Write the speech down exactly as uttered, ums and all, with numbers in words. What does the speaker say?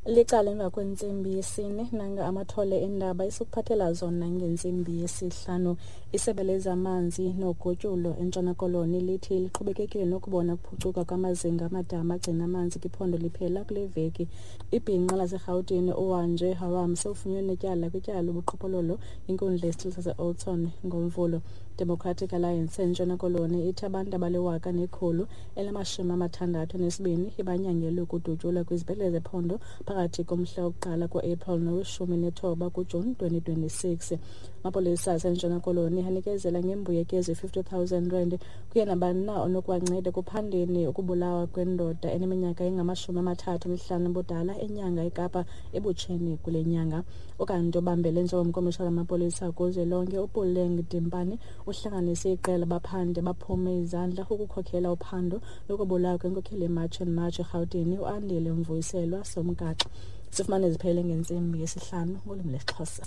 Licala emva kwentsimbi yesine, nanga amathole eendaba esikuphathela zona ngentsimbi yesihlanu. Isebe lezamanzi nogutyulo eNtshona Koloni lithi liqhubekekile nokubona ukuphucuka kwamazinga amadama agcina amanzi kwiphondo liphela kule veki. Ibhinqa laseRhawutini uWanje Haram sewufunyenwe netyala kwityala lobuqhophololo inkundla yesithili saseOudtshoorn ngoMvulo. Democratic Alliance eNtshona Koloni ithi abantu abaliwaka nekhulu elinamashumi amathandathu anesibini ibanyangelwe ukudutyulwa kwizibhedlele zephondo phakathi komhla wokuqala ku-April noweshumi nethoba kuJuni twenty twenty-six. Amapolisa aseNtshona Koloni anikezela ngembuyekezo ye-fifty thousand rand kuye nabani na onokuwanceda ekuphandeni ukubulawa kwendoda eneminyaka engamashumi amathathu anesihlanu ubudala eNyanga, eKapa, ebutsheni kule nyanga. Ukanti obambele njengomkomishana wamapolisa kuzwelonke uPuleng Dimpane uhlanganise iqela baphandi baphume izandla ukukhokhela uphando lokubulawa kwenkokheli yeMarch and March eRhawutini uAndile Mvuyiselwa Somgaxa. Sifumane ziphele ngentsimbi yesihlanu ngolwimi lwesiXhosa.